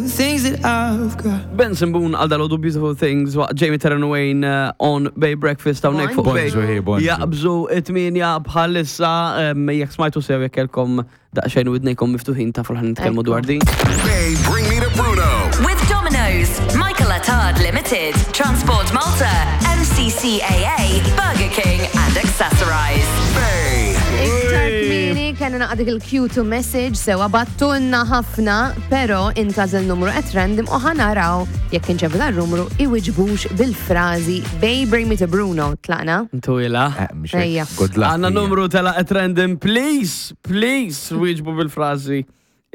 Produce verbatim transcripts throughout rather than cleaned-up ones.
Beautiful things that I've got. Benson Boone għal dal Beautiful Things waqt Jamie Terran Wayne uh, on Bay Breakfast hawnhekk fuq Bay. Bonġu, hi, bonġu. Jaqbżu it-tmienja bħalissa em, jekk smajtu sew jekk kelkom daqsxejn widnejkom miftuħin tafu li ħa nitkellmu dwar din. Bay, bring me to Bruno. With Domino's, Michael Attard Limited, Transport Malta, M C C A A, Burger King and Accessorize. Bay. Iktar kmieni kena naqra dik il-cue to message sewa bagħtulna ħafna, pero intgħażel numru at random u ħa naraw jekk inċemplu dan-numru iwiġbux bil-frażi "Bay, bring me to Bruno". Tlaqna? Intu ila. Eh, mhux hekk. Ejja. Good luck. Għandna ejja. numru tela at random, please, please, wieġbu bil-frażi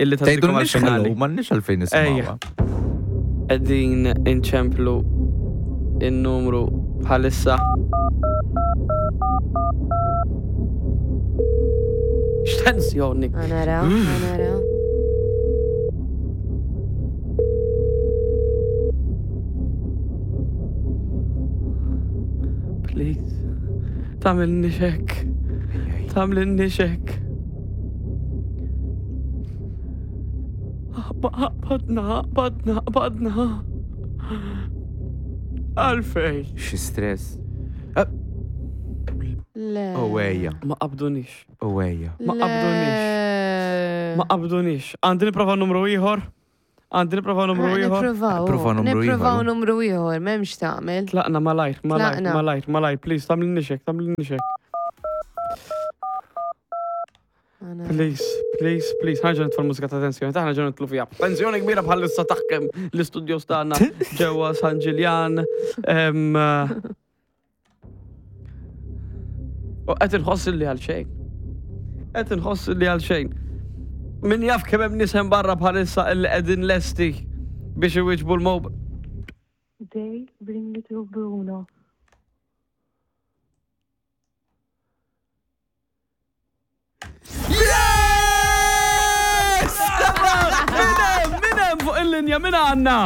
illi Tgħidu tgħaddikom nix għal-finali. hello, m'għandniex għalfejn Ejja. nisimgħuha. Qegħdin inċemplu il-numru bħalissa. X'tensjoni. Ħa naraw, ħa naraw. Please. Tagħmilniex hekk. Tagħmilniex hekk. Qbadna, qbadna, qbadna. Għalfejn. Xi stress. Le. Oh ejja, Ma qabdunix. oh ejja. Ma qabdunix. Ma qabdunix. Għandi nipprova numru ieħor. Għandi nipprova numru ieħor. Nipprovaw. Prova numru Nipprovaw ieħor. numru ieħor, m'hemmx tagħmel. Tlaqna malajr, malajr, Tlaqna. malajr, malajr, please, tagħmlilniex hekk, tagħmlilniex hekk. Please, please, please, ħa nerġa' nitfa' l-mużika ta' tensjoni, ta' ħa nerġa' nidħlu fiha. Tensjoni kbira bħalissa taħkem l-istudios tagħna ġewwa San Ġiljan. Em, U qed inħoss li għal xejn. Qed inħoss li għal xejn. Min jaf kemm hemm nies hemm barra bħalissa illi qegħdin lesti biex iwieġbu l-mob. They bring me to Bruno. Yes! Min hemm, min hemm fuq il-linja, min għandna?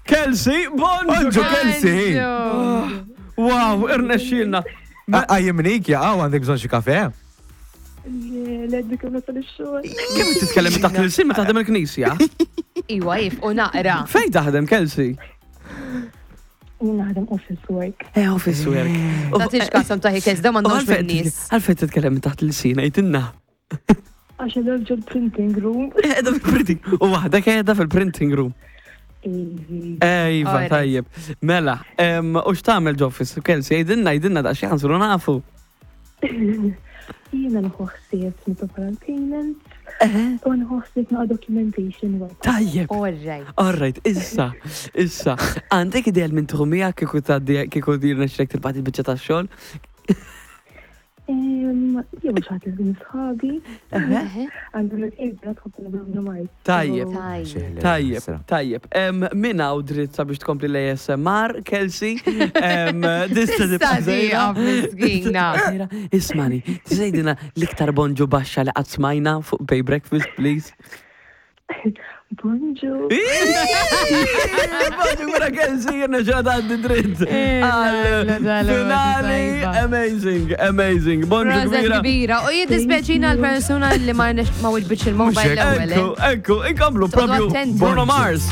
Kelsey, bonġu. Bonġu, Kelsey. Wow, irnexxielna. Għajjimnik, ja, għandek bżonn xi kafe? L-għeddi kemm nasal ix-xogħol. Kemm titkellem taħt l-ilsien ma taħdem il-knisja? Iwa, jif, u naqra. Fejn taħdem, Kelsey? Jien naħdem office work. Eh, office work. Tagħtix kasam taħi Kelsey, da m'għandhomx min-nies. Għalfejn titkellem taħt l-ilsien, għidilna. Għax qiegħda ġol printing room. Qiegħda fil-printing. U waħdek qiegħda fil-printing room. Ejva, Alright. tajjeb. Mela, em, u x'tagħmel ġo office, Kelsey, għidilna, għidilna daqsxejn ħa nsiru nafu. Jiena nieħu ħsieb nipprepara l-payments u nieħu ħsieb naqa documentation work. Tajjeb. All right. All right, issa, issa. Għandek idea minn tħumija kieku tgħaddi kieku jirnexxilek tilbagħat il-biċċa tax-xogħol? Jew xi ħadd minn sħabi. Għandu l-ibra tħobb Bruno Mars. Tajjeb. Tajjeb. Tajjeb, tajjeb. Em, Min hawn dritt sabiex tkompli l-A S M R, Kelsey. Em, Tista' Tista' tibqa' żejra. tieqaf, miskina. Żejra. Ismani, tgħidilna l-iktar bonġu baxxa li qatt smajna fuq Bay Breakfast, please. Bonġu. Bonġu, mela Kelsey, jirnexxielha tgħaddi dritt. Għal finali, amazing, amazing. Bonġu Proset kbira. kbira. U jiddispjaċina l-persuna li ma ma wiġbitx il-mobile l-ewwel. Ekku, eh. ekku, inkomplu Toqgħodu propju attenti. Bruno Mars.